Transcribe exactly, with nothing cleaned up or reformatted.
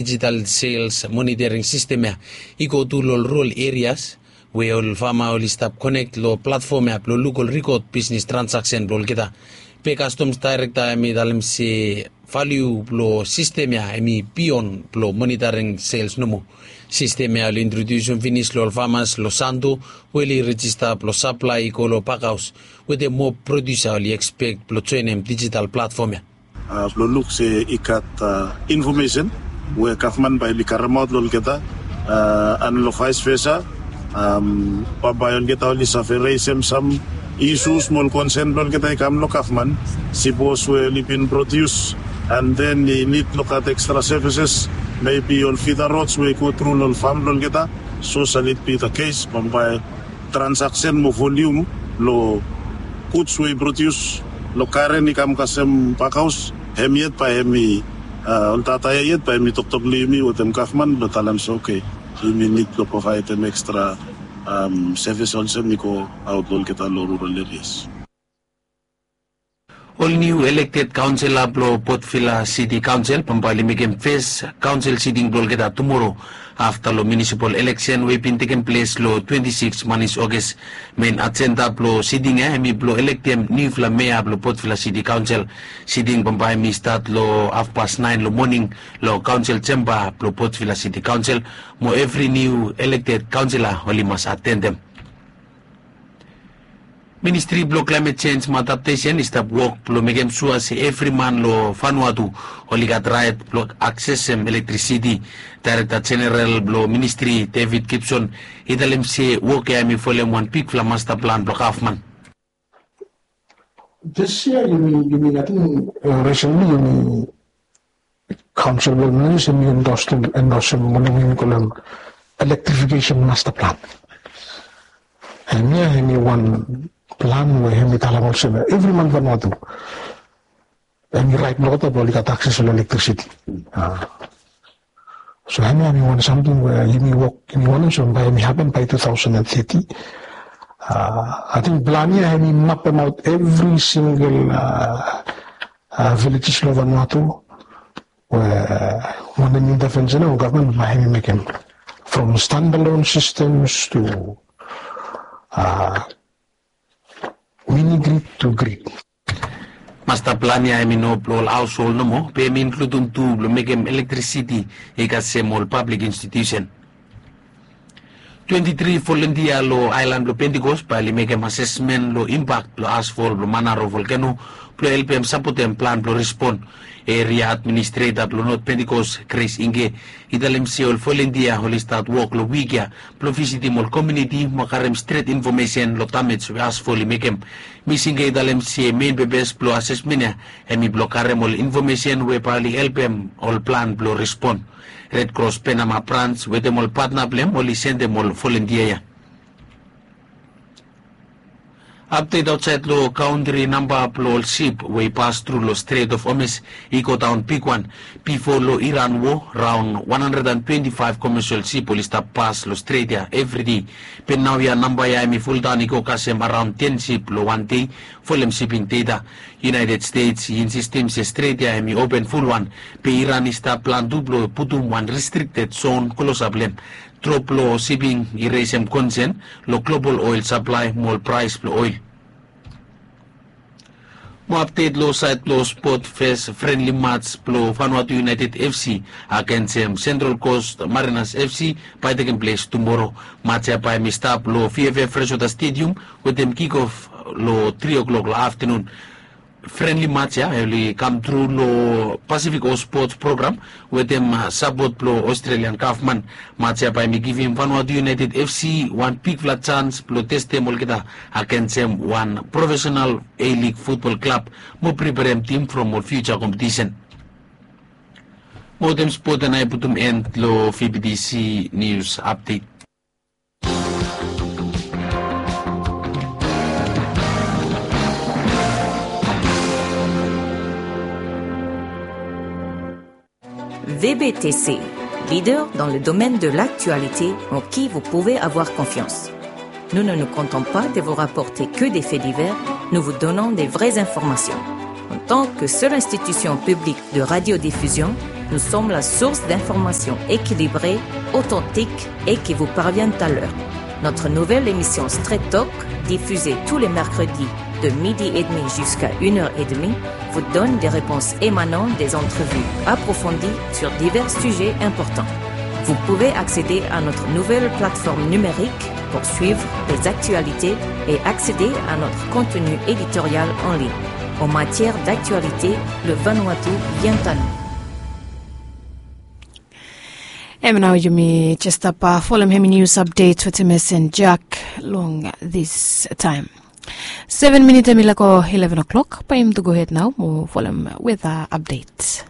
digital sales monitoring system ya i go tu long rural areas, we ol fama oli stap connect long platform ya blong luk ol record business transaction blong olgeta. Pe customs director em i talem se value blong system ya em i beyond blong monitoring sales nomo. System ya oli introdusim finis long ol farmers long Santo, we oli register blong supply i go long pakhaus, wetem moa producer oli expect blong joinim digital platform ya. Blong luk se i gat information we gavman bae oli karemaot long olgeta, and long vice versa, bambae olgeta oli save resem sam issues mo ol concern blong olgeta i kam long gavman. Sipos we oli bin produce and then i nid long gat extra services, maybe ol feeder rods we i go tru long ol fam blong olgeta. So sal it be the case, bambae transaction mo volume long goods we i produce long garen i kam kasem pakhaus, hem yet bae hem i, ol data ya yet bae hem i toktok long yumi wetem gavman blong talem se okay, yumi nid blong provaedem extra service olsem i go aot long olgeta long rural areas. Ol niu elected kaonsela blong Port Vila City Council bambae oli mekem fes kaonsel siting blong olgeta tumoro afta long municipal eleksen we i bin tekem ples long twenti sikis manis Oges. Mein ajenda blong siting ya hem i blong elektem niufala mea blong Port Vila City Council. Siting bambae hem i stat long hafpas naen long moning long kaonsel jemba blong Port Vila City Council, mo evri niu elected kaonsela oli mas atendem. Ministri blong Climate Change mo Adaptation i stap wok blong mekem sua se evri man long Vanuatu oli gat raet blong aksesem elektrisiti. Daerekta Jeneral blong ministri, David Gibson, i talem se wok ya hem i folem wan bigfala masta plan blong gavman. This year yumi, yumi, ating, recently yumi kaonsel blong ministri yumi endorse, endorse mo yumi kolem electrification master plan. Hemia hemi wan plan we hemi talem olsem evri man Vanuatu hemi raet blong olgeta blong oli gat akses long elektrisiti. So hemia hemi wan samting we yumi wok, yumi wantem se bae hemi hapen bae tu taosen and teti. Ating plan ya hemi mapemaot evri singel vilejes long Vanuatu we wanem intervention ya we gavman bae hemi mekem, from standalone systems to mini grid to grid. Masta plan ya hemi no blong ol haoshol nomo, be hemi inkludim tu blong mekem elektrisiti i kasem ol pablik institusen. Twenti tri volontia long aelan blong Pentecost bae oli mekem asesmen long impak blong asfol blong Manaro volkeno blong helpem sapotem plan blong respon. Eria administreta blong Not Pentecost, Grace Inge, i talem se ol volontia oli stat wok long wik ya blong visitim ol komuniti mo karem stret infomesen long damej we asfol i mekem. Miss Inge i talem se mein pepes blong asesmen ya hemi blong karem ol infomesen we bae oli helpem ol plan blong respon. Red Cross Penama Branch wetem ol patna blong hem oli sendem ol volontia ya. Apdet aotsaed long kantri, namba blong ol sip we i pas tru long Strait of Hormuz i godaon bigwan. Bifo long Iran wo, raon wan handred and twenti faef komesel sip oli stap pas long stret ya evri dei. Be naoia namba ya hemi fuldaon i go kasem araon ten sip long wan dei, folem siping deta. United States i insistim se stret ya hemi open fulwan, be Iran i stap plan tu blong putum wan restrikted zon klosap long hem. Drop long siping i resem konsen long global oel saplae mo ol praes blong oel. Mo apdet long saed blong spot, fes frenli mats blong Vanuatu United FC agensem Central Coast Mariners FC bae i tekem ples tumoro. Mats ya bae hemi stap long VFF Freshwater Stadium wetem kick off long tri o'clock long aftenun. Frenli mats ya oli kam tru long Pacific Host Sports Program wetem sapot blong Australian gavman. Mats ya bae hemi givim Vanuatu United FC wan bigfala jans blong testem olgeta agensem wan profesenal A-League futbol klab mo preperem tim from ol fiuja kompetisen. Mo wetem spot ya nao i putum en long VBTC nius apdet. VBTC, leader dans le domaine de l'actualité en qui vous pouvez avoir confiance. Nous ne nous contentons pas de vous rapporter que des faits divers, nous vous donnons des vraies informations. En tant que seule institution publique de radiodiffusion, Nous sommes la source d'informations équilibrées, authentiques et qui vous parviennent à l'heure. Notre nouvelle émission Straight Talk, diffusée tous les mercredis de midi et demi jusqu'à une heure et demie, vous donne des réponses émanant des entrevues approfondies sur divers sujets importants. Vous pouvez accéder à notre nouvelle plateforme numérique pour suivre les actualités et accéder à notre contenu éditorial en ligne. En matière d'actualité, le Vanuatu vient à nous. Hemia nao yumi jes stap folem hemi nius apdet wetem mesen Jack long this time. Seven minit hemi lako eleven o'clock, bae yumi tu gohed nao mo folem weta apdet.